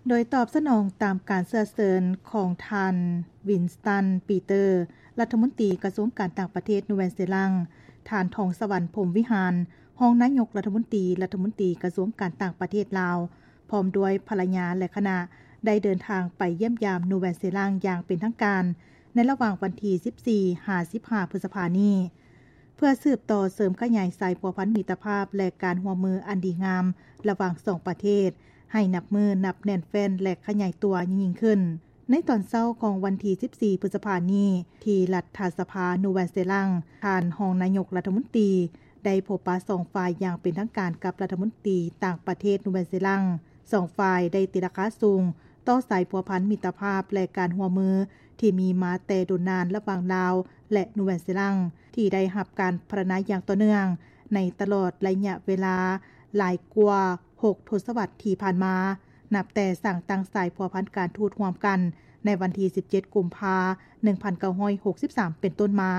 ໂດຍຕອບສະໜອງຕາມການເຊື້ອເຊີນຂອງທ່ານ ວິນສະຕັນ ປີເຕີ ລັດຖະມົນຕີກະຊວງການຕ່າງປະເທດ ນູແວນເຊລັງ, ທ່ານ ທອງສະຫວັນ ພົມວິຫານ ຮອງນາຍົກລັດຖະມົນຕີ ລັດຖະມົນຕີກະຊວງການຕ່າງປະເທດລາວ ພ້ອມດ້ວຍພັນລະຍາ ແລະ ຄະນະ ໄດ້ເດີນທາງໄປຢ້ຽມຢາມ ນູແວນເຊລັງ ຢ່າງເປັນທາງການ ໃນລະຫວ່າງວັນທີ ສິບສີ່ ຫາ ສິບຫ້າ ພຶດສະພານີ້ ເພື່ອສືບຕໍ່ເສີມຂະຫຍາຍສາຍພົວພັນມິດຕະພາບ ແລະ ການຮ່ວມມືອັນດີງາມລະຫວ່າງສອງປະເທດ ໃຫ້ນັບມື້ນັບແໜ້ນແຟ້ນ ແລະ ຂະຫຍາຍຕົວຍິ່ງໆຂຶ້ນ. ໃນຕອນເຊົ້າຂອງວັນທີ ສິບສີ່ ພຶດສະພານີ້ ທີ່ລັດຖະສະພາ ນູແວນເຊລັງ, ທ່ານຮອງນາຍົກລັດຖະມົນຕີ ໄດ້ພົບປະສອງຝ່າຍຢ່າງເປັນທາງການກັບລັດຖະມົນຕີຕ່າງປະເທດ ນູແວນເຊລັງ. ສອງຝ່າຍໄດ້ຕີລາຄາສູງຕໍ່ສາຍພົວພັນມິດຕະພາບ ແລະ ການຮ່ວມມືທີ່ມີມາແຕ່ດົນນານລະຫວ່າງລາວ ແລະ ນູແວນເຊລັງ ທີ່ໄດ້ຮັບການພັດທະນາຢ່າງຕໍ່ເນື່ອງໃນຕະຫຼອດໄລຍະເວລາຫຼາຍກວ່າຫົກທົດສະວັດທີ່ຜ່ານມາ, ນັບແຕ່ສ້າງຕັ້ງສາຍພົວພັນການທູດຮ່ວມກັນໃນວັນທີ ສິບເຈັດ ກຸມພາ ໜຶ່ງພັນເກົ້າຮ້ອຍຫົກສິບສາມ ເປັນຕົ້ນມາ,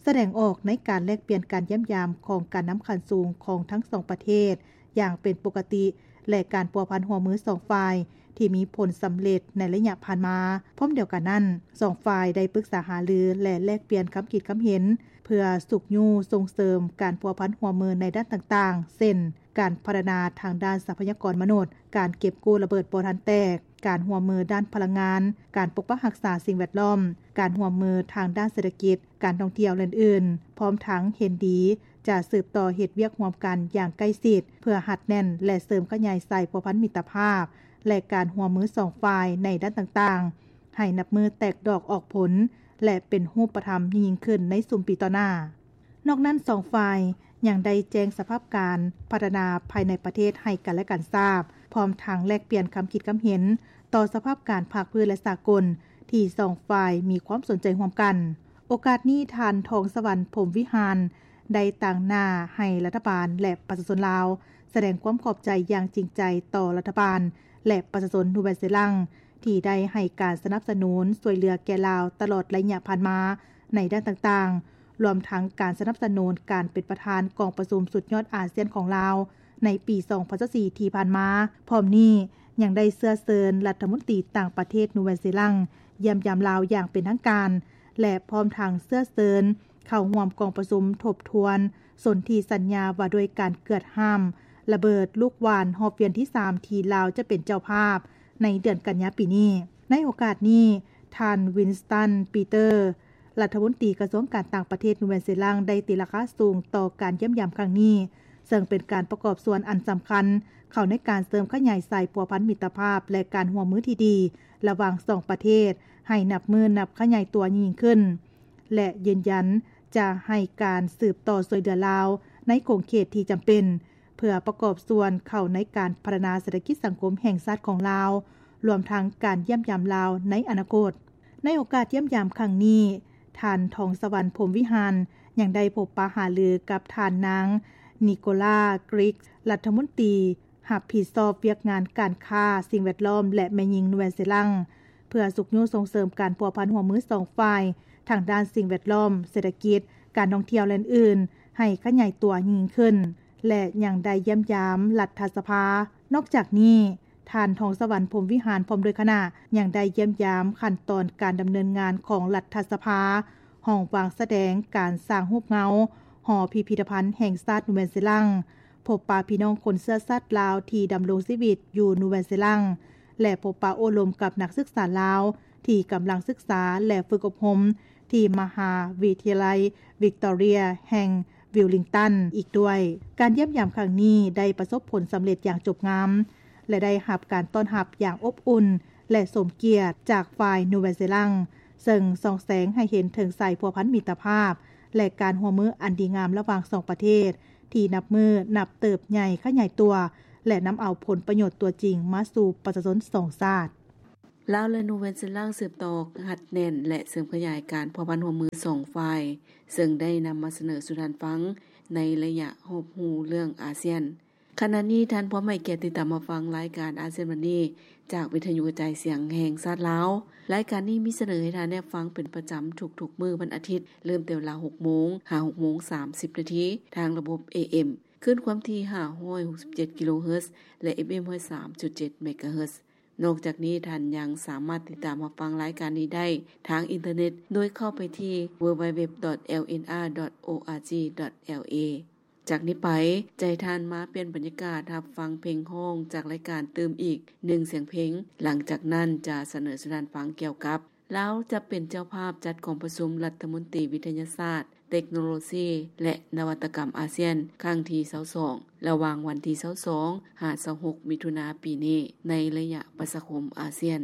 ສະແດງອອກໃນການແລກປ່ຽນການຢ້ຽມຢາມຂອງການນຳຂັ້ນສູງຂອງທັງສອງປະເທດ ຢ່າງເປັນປົກກະຕິ ແລະ ການພົວພັນຮ່ວມມືສອງຝ່າຍທີ່ມີຜົນສຳເລັດໃນໄລຍະຜ່ານມາ. ພ້ອມດຽວກັນນັ້ນ, ສອງຝ່າຍໄດ້ປຶກສາຫາລື ແລະ ແລກປ່ຽນຄຳຄິດຄຳເຫັນ ເພື່ອຊຸກຍູ້ສົ່ງເສີມການພົວພັນຮ່ວມມືໃນດ້ານຕ່າງໆ ເຊັ່ນ ການພັດທະນາທາງດ້ານຊັບພະຍາກອນມະນຸດ, ການເກັບກູ້ລະເບີດບໍ່ທັນແຕກ, ການຮ່ວມມືດ້ານພະລັງງານ, ການປົກປັກຮັກສາສິ່ງແວດລ້ອມ, ການຮ່ວມມືທາງດ້ານເສດຖະກິດ, ການທ່ອງທ່ຽວ ແລະ ອື່ນໆ, ພ້ອມທັງເຫັນດີຈະສືບຕໍ່ເຮັດວຽກຮ່ວມກັນຢ່າງໃກ້ຊິດ ເພື່ອຮັດແໜ້ນ ແລະ ເສີມຂະຫຍາຍສາຍພົວພັນມິດຕະພາບ ແລະ ການຮ່ວມມືສອງຝ່າຍໃນດ້ານຕ່າງໆ ໃຫ້ນັບມື້ແຕກດອກອອກຜົນ ແລະ ເປັນຮູບປະທຳຍິ່ງໆຂຶ້ນໃນຊຸມປີຕໍ່ໜ້າ. ນອກນັ້ນ, ສອງຝ່າຍຍັງໄດ້ແຈ້ງສະພາບການພັດທະນາພາຍໃນປະເທດໃຫ້ກັນ ແລະ ກັນຊາບ, ພ້ອມທັງແລກປ່ຽນຄຳຄິດຄຳເຫັນຕໍ່ສະພາບການພາກພື້ນ ແລະ ສາກົນ ທີ່ສອງຝ່າຍມີຄວາມສົນໃຈຮ່ວມກັນ. ໂອກາດນີ້, ທ່ານ ທອງສະຫວັນ ພົມວິຫານ ໄດ້ຕາງໜ້າໃຫ້ລັດຖະບານ ແລະ ປະຊາຊົນລາວ ສະແດງຄວາມຂອບໃຈຢ່າງຈິງໃຈຕໍ່ລັດຖະບານ ແລະ ປະຊາຊົນ ນູແວນເຊລັງ ທີ່ໄດ້ໃຫ້ການສະໜັບສະໜູນຊ່ວຍເຫຼືອແກ່ລາວຕະຫຼອດໄລຍະຜ່ານມາໃນດ້ານຕ່າງໆ, ລວມທັງການສະໜັບສະໜູນການເປັນປະທານກອງປະຊຸມສຸດຍອດອາຊຽນຂອງລາວໃນປີສອງພັນຊາວສີ່ ທີ່ຜ່ານມາ. ພ້ອມນີ້ຍັງໄດ້ເຊື້ອເຊີນລັດຖະມົນຕີຕ່າງປະເທດ ນູແວນເຊລັງ ຢ້ຽມຢາມລາວຢ່າງເປັນທາງການ ແລະ ພ້ອມທັງເຊື້ອເຊີນເຂົ້າຮ່ວມກອງປະຊຸມທົບທວນສົນທິສັນຍາວ່າດ້ວຍການເກືອດຫ້າມລະເບີດລູກຫວ່ານຮອບວຽນທີສາມ ທີ່ລາວຈະເປັນເຈົ້າພາບໃນເດືອນກັນຍາປີນີ້. ໃນໂອກາດນີ້, ທ່ານ ວິນສະຕັນ ປີເຕີ ລັດຖະມົນຕີກະຊວງການຕ່າງປະເທດ ນູແວນເຊລັງ ໄດ້ຕີລາຄາສູງຕໍ່ການຢ້ຽມຢາມຄັ້ງນີ້, ເຊິ່ງເປັນການປະກອບສ່ວນອັນສຳຄັນເຂົ້າໃນການເສີມຂະຫຍາຍສາຍພົວພັນມິດຕະພາບ ແລະ ການຮ່ວມມືທີ່ດີລະຫວ່າງສອງປະເທດ ໃຫ້ນັບມື້ນັບຂະຫຍາຍຕົວຍິ່ງຂຶ້ນ ແລະ ຢືນຢັນຈະໃຫ້ການສືບຕໍ່ຊ່ວຍເຫຼືອລາວໃນຂົງເຂດທີ່ຈຳເປັນ ເພື່ອປະກອບສ່ວນເຂົ້າໃນການພັດທະນາເສດຖະກິດສັງຄົມແຫ່ງຊາດຂອງລາວ, ລວມທັງການຢ້ຽມຢາມລາວໃນອະນາຄົດ. ໃນໂອກາດຢ້ຽມຢາມຄັ້ງນີ້, ທ່ານ ທອງສະຫວັນ ພົມວິຫານ ຍັງໄດ້ພົບປະຫາລືກັບທ່ານນາງ ນິໂກລາ ກຣິກ ລັດຖະມົນຕີຮັບຜິດຊອບວຽກງານການຄ້າ, ສິ່ງແວດລ້ອມ ແລະ ແມ່ຍິງ ນູແວນເຊລັງ ເພື່ອຊຸກຍູ້ສົ່ງເສີມການພົວພັນຮ່ວມມືສອງຝ່າຍ ທາງດ້ານສິ່ງແວດລ້ອມ, ເສດຖະກິດ, ການທ່ອງທ່ຽວ ແລະ ອື່ນໆ ໃຫ້ຂະຫຍາຍຕົວຍິ່ງຂຶ້ນ ແລະ ຍັງໄດ້ຢ້ຽມຢາມລັດຖະສະພາ. ນອກຈາກນີ້, ທ່ານ ທອງສະຫວັນ ພົມວິຫານ ພ້ອມດ້ວຍຄະນະ ຍັງໄດ້ຢ້ຽມຢາມຂັ້ນຕອນການດຳເນີນງານຂອງລັດຖະສະພາ, ຫ້ອງວາງສະແດງການສ້າງຮູບເງົາ, ຫໍພິພິທະພັນແຫ່ງຊາດ ນູແວນເຊລັງ, ພົບປະພີ່ນ້ອງຄົນເຊື້ອຊາດລາວທີ່ດຳລົງຊີວິດຢູ່ນູແວນເຊລັງ ແລະ ພົບປະໂອ້ລົມກັບນັກສຶກສາລາວທີ່ກຳລັງສຶກສາ ແລະ ຝຶກອົບຮົມທີ່ມະຫາວິທະຍາໄລວິກຕໍເຣຍແຫ່ງວິວລິງຕັນອີກດ້ວຍ. ການຢ້ຽມຢາມຄັ້ງນີ້ໄດ້ປະສົບຜົນສຳເລັດຢ່າງຈົບງາມ ແລະ ໄດ້ຮັບການຕ້ອນຮັບຢ່າງອົບອຸ່ນ ແລະ ສົມກຽດຈາກຝ່າຍນູແວນເຊລັງ, ເຊິ່ງສ່ອງແສງໃຫ້ເຫັນເຖິງສາຍພົວພັນມິດຕະພາບ ແລະ ການຮ່ວມມືອັນດີງາມລະຫວ່າງສອງປະເທດ ທີ່ນັບມື້ນັບເຕີບໃຫຍ່ຂະຫຍາຍຕົວ ແລະ ນຳເອົາຜົນປະໂຫຍດຕົວຈິງມາສູ່ປະຊາຊົນສອງຊາດ. ລາວ ແລະ ນູແວນເຊລັງ ສືບຕໍ່ຮັດແໜ້ນ ແລະ ເສີມຂະຫຍາຍການພົວພັນຮ່ວມມືສອງຝ່າຍ, ເຊິ່ງໄດ້ນຳມາສະເໜີສູ່ທ່ານຟັງໃນໄລຍະຮອບຮູ້ເລື່ອງອາຊຽນ. ຂະນະນີ້ທ່ານພ້ອມໃຫ້ກຽດຕິດຕາມຮັບຟັງລາຍການອາຊຽນວັນນີ້ ຈາກວິທະຍຸກະຈາຍສຽງແຫ່ງຊາດລາວ. ລາຍການນີ້ມີສະເໜີໃຫ້ທ່ານໄດ້ຟັງເປັນປະຈຳທຸກໆມື້ວັນອາທິດ, ເລີ່ມແຕ່ເວລາຫົກໂມງ ຫາຫົກໂມງສາມສິບນາທີ ທາງລະບົບ ເອເອັມ ຄື້ນຄວາມຖີ່ຫ້າຮ້ອຍຫົກສິບເຈັດກິໂລເຮີດ ແລະ ເອັຟເອັມ ຮ້ອຍສາມຈຸດເຈັດເມກາເຮີດ. ນອກຈາກນີ້, ທ່ານຍັງສາມາດຕິດຕາມຮັບຟັງລາຍການນີ້ໄດ້ທາງອິນເຕີເນັດ ໂດຍເຂົ້າໄປທີ່ www.lnr.org.la. ຈາກນີ້ໄປ, ຈະໃຫ້ທ່ານມາປ່ຽນບັນຍາກາດຮັບຟັງເພງຮ້ອງຈາກລາຍການຕື່ມອີກໜຶ່ງສຽງເພງ. ຫຼັງຈາກນັ້ນຈະສະເໜີສູ່ທ່ານຟັງກ່ຽວກັບ ລາວຈະເປັນເຈົ້າພາບຈັດກອງປະຊຸມລັດຖະມົນຕີວິທະຍາສາດ, ເຕັກໂນໂລຊີ ແລະ ນະວັດຕະກຳອາຊຽນ ຄັ້ງທີຊາວສອງ ລະຫວ່າງວັນທີຊາວສອງ ຫາ ຊາວຫົກ ມິຖຸນາປີນີ້ ໃນໄລຍະປະຊາຄົມອາຊຽນ.